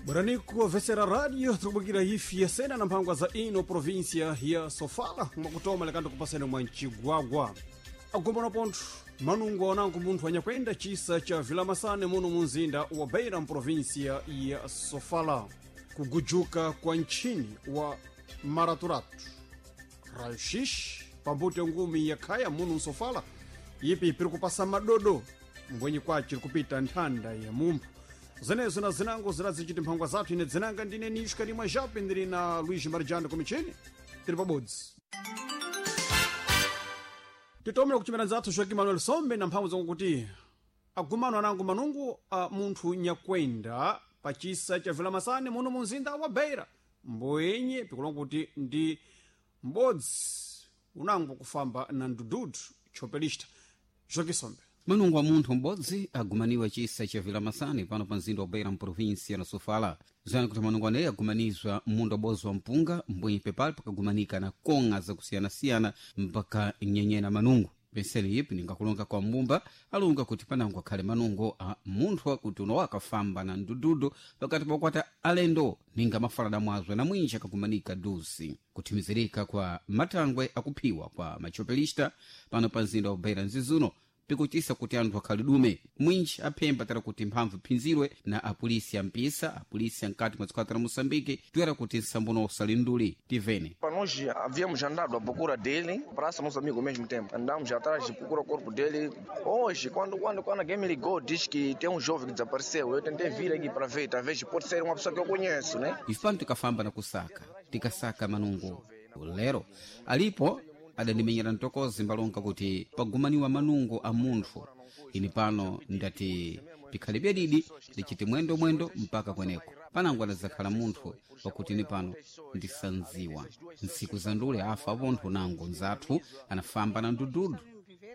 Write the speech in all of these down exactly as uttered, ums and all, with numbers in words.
Bwananiku vesera radio tikubukira ifi yasena na mphangwa za ino província ya Sofala mwakutoma lekando kupasene mwa Mchigwagwa agombana pontho manungo anango munthu anyakwenda chisa cha Vilamasane muno munzinda wa Beira mprovíncia ya Sofala kugujuka kwa ntchini wa Maraturatu raio-x pambuto ya ngumi ya khaya muno msofala ipi piri kupasa madodo mbwenyi kwaci kupita nthanda ya mumphu zenezo na zinango zirazichiti mphangwa zathu ine dzinanga ndine nishka limwe jape ndili na Luiz Marijano kumichini tili pabodzi titomera kuchimera nzathu Joaquim Manuel Sombe na mphamvu zakuti agumano anango manungu a munthu nyakwenda pachisa cha Vilamasane muno munzinda wa Beira mboyenye pikulonga kuti ndi m'bodzi unango kufamba na ndududu chopelista Joaquim Sombe Manungo wa munthu m'bodzi agumaniwa chisa cha Vilamasane pano pa mzinda wa Beira mprovinsia na Sofala zani kuti manungo aneyi agumanizwa munda ubodzi wa mpunga mbwenyi pepali pakagumanika na kong'a zakusiyanasiyana mpaka nyenyena manungo penseli ipi ningakulonga kwa mbumba alunga kuti panango akhale manungo a munthu akuti uno akafamba na ndududu pakati pakukwata alendo ninga mafalada mwazwe na mwinji akagumanika dusi kuthimizirika kwa matangwe akuphiwa kwa machopelista pano pa mzinda wa Beira nzizuno pikuchisa kuti anthu akhale dume mwinji aphemba tara kuti mphamvu iphinzirwe na apolisi ampisa apolisi ankati mwa dziko la moçambique toera kuti nsambono usalinduli tivene Para nós havíamos andado à procura dele, praça nosso amigo ao mesmo tempo. Andamos atrás de procura o corpo dele. Hoje, quando, quando, quando alguém me ligou, diz que tem um jovem que desapareceu. Eu tentei vir aqui para ver, talvez pode ser uma pessoa que eu conheço, né? ife pano tikafamba na kusaka tikasaka manungo lero alipo adandimenyera mtokozi mbalonga kuti pagumaniwa manungo a munthu ini pano ndati pikhale byadidi ndichiti mwendo mwendo mpaka kweneko panango adazakhala munthu wakuti ini pano ndisanziwa ntsiku za ndule afa apontho nango nzathu anafamba na ndududu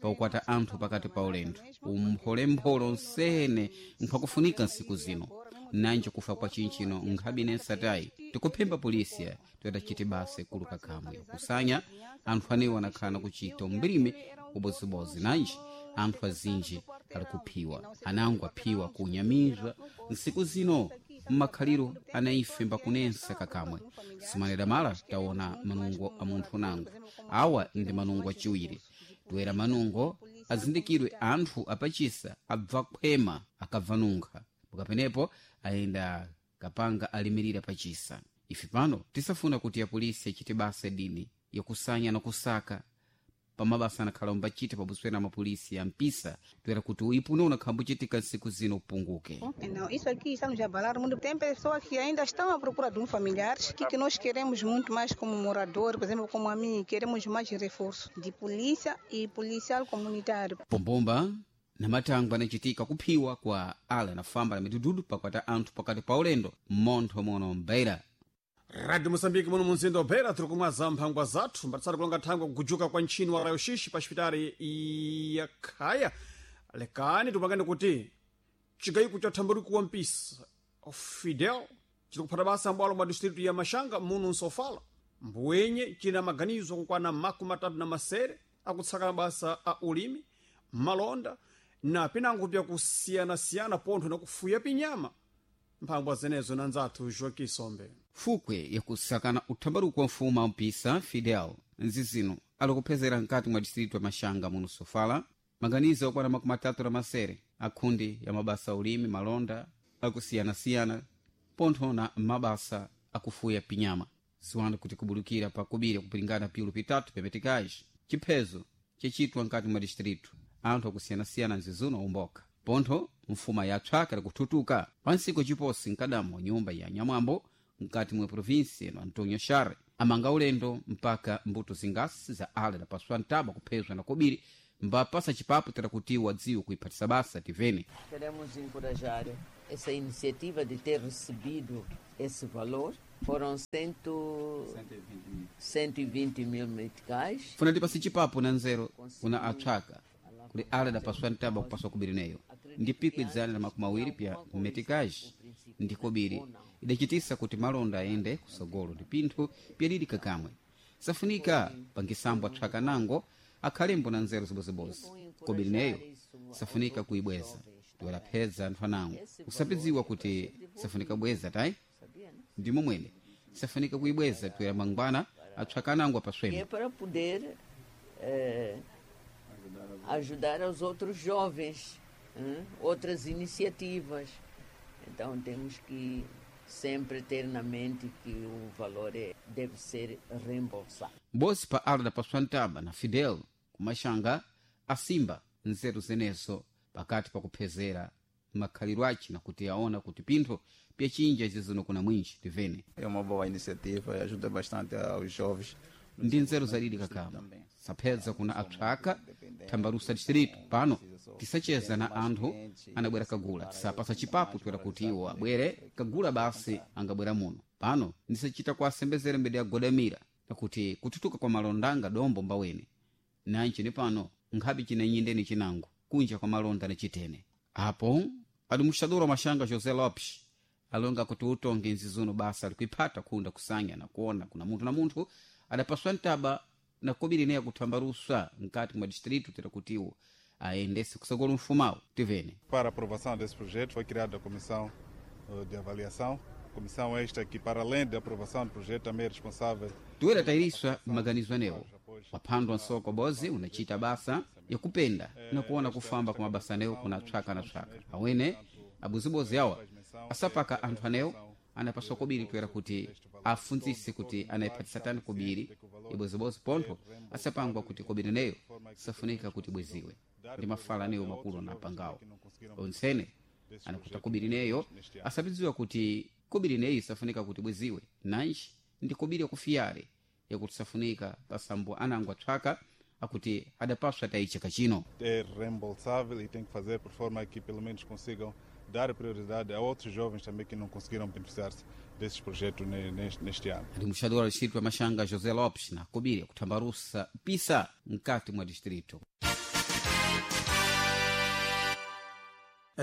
pakukwata anthu pakati pa ulendo umpholempholo nsene nkhwakufunika nsiku zino nanje kufa kwa chinchino nkhabe nsatayi tikuphemba polisiya toyatachite basa ikulu kakamwe kusanya anthu anewo anakhala nakuchita umbirime ubodzibozi nanji anthu azinji ali kuphiwa anango aphiwa kunyamizwa nsiku zino mmakhaliro anaife mbakunensa kakamwe simanera mala taona manungo a munthu nango awa ndi manungo achiwiri toera manungo azindikirwe anthu apachisa abva khwema akabva nunkha pakapenepo ayenda kapanga alimirira pachisa ife pano tisafuna kuti apolisi achite basa dini yakusanya na kusaka pamabasa anakhala umbachita pabuswera mapolisi ampisa toera kuti uipuno unakhambuchitika nsiku zino upunguke Não, isso aqui está nos abalar muito. Tem pessoas que ainda estão à procura de um familiar, que, que nós queremos muito mais como morador, por exemplo, como a mim, queremos mais reforço de polícia e policial comunitário. pombomba na matangwe anachitika kuphiwa kwa ala anafamba na midududu pakwata anthu pakati pa ulendo mmontho mono mbeira Radio Moçambique muno munzinda wa Beira tiri kumwaza mphangwa zathu mbatsati kulonga thangwe kugujuka kwa ntchini wa raio-x pa xipitali ya Khaya lekani tipangane kuti chigayiko cha thambaluku wa mpisa Fidel chiri kuphata basa mbwalo mwa distritu ya Machanga muno msofala mbwenye china maganizo akukwana makumi atatu na masere akutsaka mabasa a ulimi malonda na pinango pyakusiyanasiyana pontho na kufuya pinyama mphangwa zenezo na nzathu Joaquim Sombe fukwe yakusakana uthambaluko wa mfumu ampisa Fidel nzizino alikuphezera mkati mwa distritu ya Machanga muno Sofala maganizo okwana makumi atatu na masere akhundi ya mabasa a ulimi malonda akusiyanasiyana pontho na mabasa akufuya pinyama ziwanda kuti kubulukira pa kubiri kupilingana piulu pitatu pepetikaji chiphezo chechitwa mkati mwa distritu anthu akusiyanasiyana nzizuno umboka pontho mfuma yatswaka likuthutuka pansiku chiposi mkadamo nyumba ya nyamwambo mkati mwa provinsi ino Antonio Share amanga ulendo mpaka mbuto zingasi za ale lapaswa ntaba kuphezwa na kobiri mbapasa chipapo tera kuti wadziwe kuiphatisa basa tivene Queremos encorajar essa iniciativa de ter recebido esse valor. Foram cento, cento e vinte mil meticais. funa tipasi chipapo na nzero kuna atswaka kuli ale dapaswa ntaba kupaswa kobiri neyo ndi pikwi dzana la makumi awiri pya metikaji ndi kobiri idachitisa kuti malonda ayende kusogolo ndi pinthu pyadidi kakamwe safunika pangisambo atswaka nango akhalembo na nzeru zibozibozi kobiri neyo safunika kuibweza Tiwalapheza anthu anango usapidziwa kuti safunika bweza tayi ndimo mwene safunika kuibweza tiwera mangwana atswaka anango Que é apaswemo. para poder eh, ajudar aos outros jovens, hein? Outras iniciativas. Então temos que sempre ter na mente que o valor é, deve ser reembolsado. Bosi pa ala dapaswa ntaba na Fidel kumaxanga asimba nzeru zenezo pakati pakuphezera makhalidwe ace nakuti aona kuti pinthu pyachinja zizino kuna mwinji tivene. É uma boa iniciativa e ajuda bastante aos jovens. Ndi nzeru zalili kakama saphedza kuna apsaka thambalusa distrito pano tisacheza na anthu anabwera kagula tisapasa chipapu toera kuti iwo abwere kagula basi angabwera muno pano ndisachita kuasembezera mbede yagodamira nakuti kututuka kwa malonda dombo mbawene nanchi ni pano nkhapi chinanyindeni chinango kunja kwa malonda ni chitene apo alimuxadura wa maxanga José Lopes alonga kuti utonge nzizuno basa alikuiphata khunda kusanya na kuona kuna munthu na munthu adapaswa ntaba na kobiri neya kuthambalusa mkati mwa distrito tera kutiwo aendese kusakolo mfumawo tivene. Para a aprovação desse projeto foi criada a comissão eh, de avaliação. Comissão esta que, para além da aprovação do projeto, também é responsável Tiwera tayiriswa maganizo anewo waphandwa nsoko bozi unachita basa yakupenda na kuona kufamba kwa mabasa anewo kuna tswaka na tswaka awene abuzibozi awa asapaka anthu anewo anapaswa kobiri toera kuti afundzise kuti anayiphatisa tani kobiri ibozibozi pontho asapangwa kuti kobiri neyo safunika kuti bweziwe ndi mafala anewo makulu anapangawo onsene anakuta kobiri neyo asapidziwa kuti kobiri neyi safunika kuti bweziwe nanji ndi kobiri yakufiyare yakuti safunika pasambo anango atswaka akuti adapaswa tayichaka chino. É reembolsável e tem que fazer por forma que pelo menos consigam dar prioridade a outros jovens também que não conseguiram beneficiar-se desses projetos ne- neste, neste ano. Ndi muxadora wa distrito wa Maxanga José Lopes na kobiri yakuthambalusa pisa mkati mwa distrito.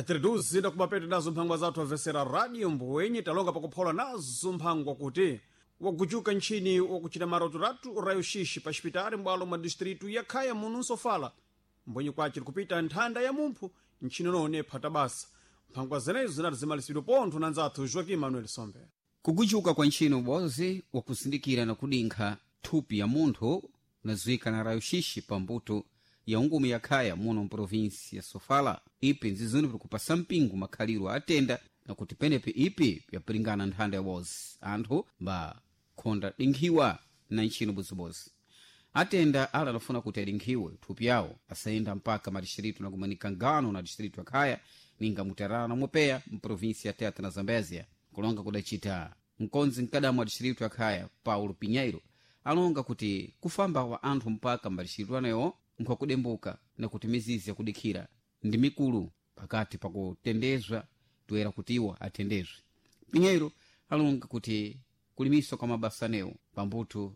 Tiriduzi ndakubapete nazo mphangwa zathu amvesera radio mbwenye talonga pakuphola nazo mphangwa kuti wagujuka ntchini wakuchita marotoratu rayo xixi pa xipitali m'bwalo mwa distritu ya khaya muno nsofala mbwenye kwace likupita nthanda ya mumphu ntchini none phata basa mphangwa zenezo zinati zimalisidwe pontho na nzathu Joaquim Manuel Sombe. Kugujuka kwa ntchino ubozi wakuzindikira na kudinkha thupi ya munthu unadziwika na rayo xixi pa mbuto ya ungumi ya khaya muno mprovinsi ya Sofala ipi nzizuni pikupasa mpingo makhaliro atenda nakuti penepi ipi yapiringana nthanda ya bozi anthu mba khonda dinkhiwa na ntchino bozibozi atenda ala anafuna kuti adinkhiwe thupi yawo asayenda mpaka madistritu nakumanika ngano na distritu ya khaya ninga mutarala na mopeya mprovinsi ya Tete na Zambezia kulonga kudacita mkonzi mkadamu wa distritu ya khaya Paulo Pinheiro alonga kuti kufamba wa anthu mpaka madistritu anewo nkhwakudembuka na kuti mizizi yakudikhira ndi mikulu pakati pakutendezwa toera kuti iwo atendezwe. Pinheiro alonga kuti kulimiswa kwa mabasa anewo pambuto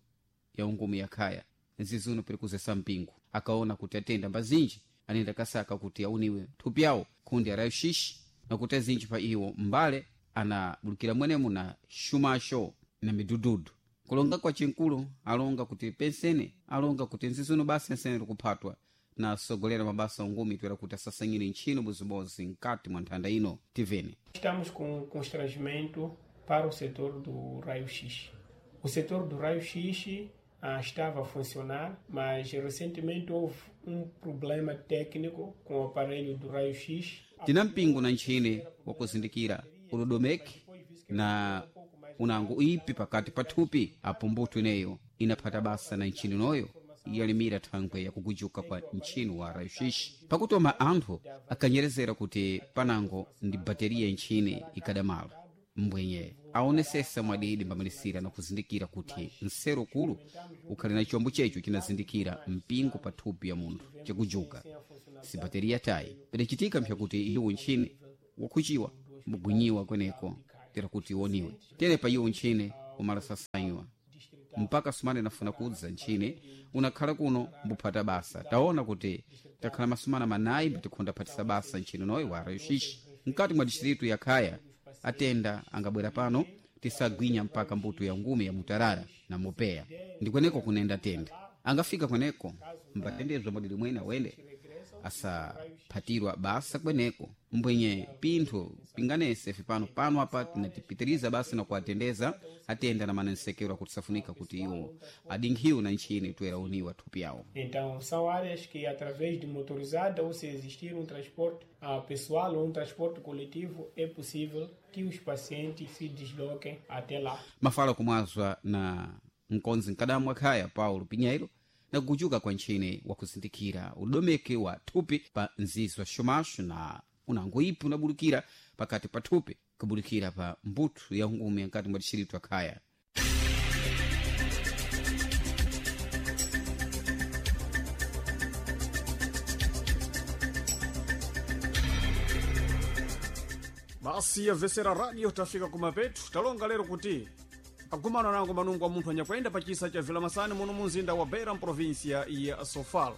ya ungumu ya khaya nzizuno pili kuzesa mpingo akaona kuti atenda mbazinji anenda kasaka kuti auniwe thupi yawo khundi arayo xixi nakuti azinji pa iwo mbale anabulukira mwenemo na xumaxo na midududu kulonga kwa cinkulu alonga kuti pensene alonga kuti nzizuno basa ensene likuphatwa na asogolera mabasa ungumi toera kuti asasanyire ntchino bozibozi mkati mwa nthanda ino tivene. Estamos com constrangimento para o setor do raio-x. O setor do raio-x ah, estava a funcionar, mas recentemente houve um problema técnico com o aparelho do raio-x. Tina mpingo na ntchine wakuzindikira udodomeki na unango ipi pakati pa thupi apo mbuto ineyo inaphata basa na ntchini noyo yalimira thangwe yakugujuka kwa ntchini wa rayoxixi pakutoma anthu akanyerezera kuti panango ndi bateriya ntchini ikadamala mbwenye aonesesa mwadidi mbamalisira na kuzindikira kuti nsero kulu ukhali na chombo checho chinazindikira mpingo pa thupi ya munthu chakujuka si bateriya tayi pidacitika mpyakuti iwo ntchini wakhuciwa mbugwinyiwa kweneko tera kuti iwoniwe tere pa iwo ntchini umalasasanywa mpaka sumane nafuna kudza ntchini unakhala kuno mbuphata basa taona kuti takhala masumana manayi mbitikhonda phatisa basa ntchini noyo wa rayoxixi mkati mwa distritu ya khaya atenda angabwera pano tisagwinya mpaka mbuto ya ngumi ya mutarara na mopeya ndi kweneko kunenda tenda angafika kweneko mbatendezwa mwadidi mwene awende asaphatirwa basa kweneko mbwenye pinthu pinganese pano pano apa tinatipitiriza basi na kuatendeza atenda na manensekero akuti safunika kuti iwo adinkhiwe na ntchini toera uniwa thupi yawo. Então, são áreas que, através de motorizada ou se existir um transporte ah, pessoal ou um transporte coletivo, é possível que os pacientes se desloquem até lá. Mafala kumwazwa na mkonzi mkadamu akhaya Paulo Pinheiro na kukuchuka kwa ntchini wakuzindikira udomeke wa thupi pa nzizi wa xomaxo na unango ipi unabulukira pakati pa thupi kubulukira pa mbuthu ya ngumi nkati mwa dixiritu akhaya. Basi yamvesera radio tafika kumapetu talonga lero kuti agumana nango manungo a munthu anyakwenda pa chisa cha Vilamasani muno munzinda wa Beira mprovinsia ya Sofala.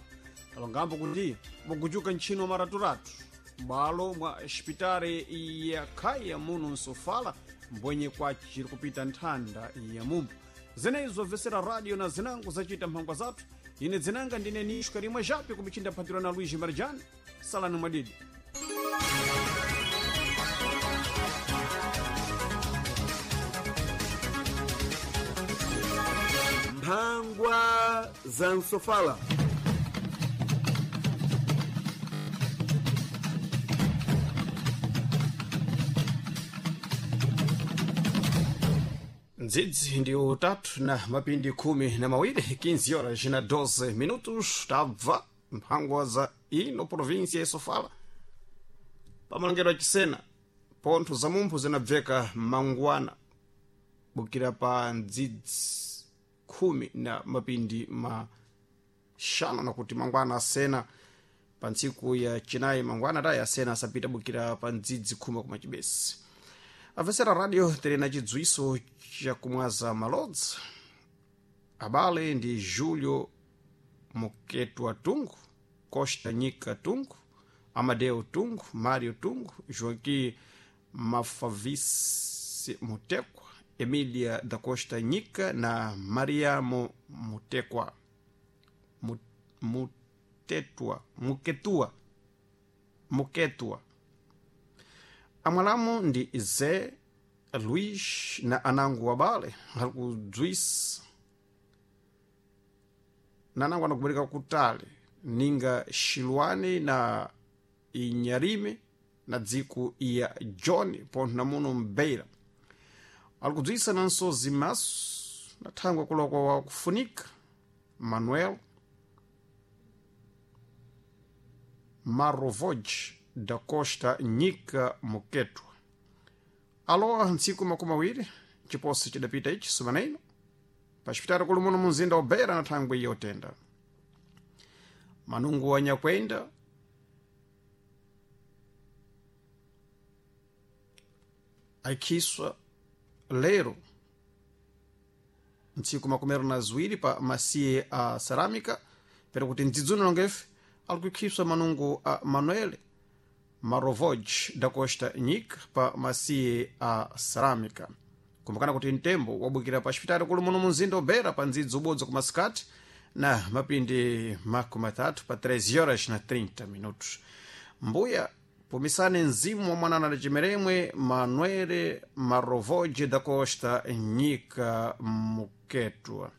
Talongambo kuti mukuchuka ntchino maraturatu m'balo mwa xipitari ya Khaya muno msofala mbwenye kwaci kupita nthanda ya mumbu. Zenezo vesera radio na zinango zacita mphangwa zathu. Ine dzinanga ndine Nisho Karimwa Jape kumichinda phatirwa na Luiz Marjani. Salani mwadidi. Mphangwa za msofala. Ndzidzi ndi utatu na mapindi khumi na mawiri, quinze horas na doze minutos, tabva mphangwa za ino província ya Sofala pamalongedwe achisena pontho za mumphu zinabveka mangwana bukira pa ndzidzi khumi na mapindi maxanu na kuti mangwana asena pa ntsiku ya chinayi mangwana tayi asena asapita bukira pa ndzidzi khumi kuma chibesi. Amvesera radio tili na chidziwiso chakumwaza malodzi abale ndi Julio Muketwa Tungu, Costa Nyika Tungu, Amadeo Tungu, Mario Tungu, Joaquim Mafavisi Mutekwa, Emilia da Costa Nyika na Mariamo Mutekwa Mutetwa Muketua Muketwa. Amwalamu ndi Zé Luís na anango wabale alikudzwisa na anango anakubereka kutali ninga Xilwani na Inyarime na dziko ya John pontho na muno Mbeira. Alikudzwisa nanso zimaso na thangwe kulokwa wa kufunika Manuel Marovoj da Costa Nyika Muketwa. Alowa ntsiku makumi awiri chiposi chidapita ichi sumana ino pa xipitali kuli muno munzinda wa Beira na thangwe yotenda manungu wa nyakwenda aikhiswa lero ntsiku makumi na ziwiri pa masiye a cerâmica pero kuti mdzidzuno longefe alikuikhiswa manungu a Manuel Marovoj da Costa Nyika pa masiye a cerâmica. Kumbukana kuti mtembo wabukira pa xipitali kuli muno munzinda wa Beira pa ndzidzi ubodzi ku masikati na mapindi makumi atatu pa treze horas na trinta minutos. Mbuya pumisani mzimu wa mwanana da Cimeremwe Manuel Marovoj da Costa Nyika Muketwa.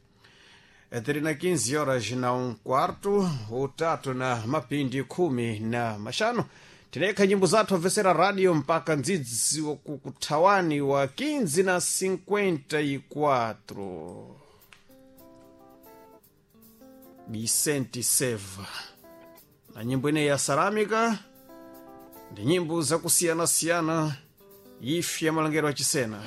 Tiri na quinze horas na um quarto, utatu na mapindi khumi na maxanu. Tinekha nyimbo zathu amvesera radio mpaka ndzidzi wakukuthawani wa quinze na cinquenta e quatro. Vicente Seva na nyimbo ineyi ya cerâmica ndi nyimbo zakusiyana-siyana ife ya malangero achisena.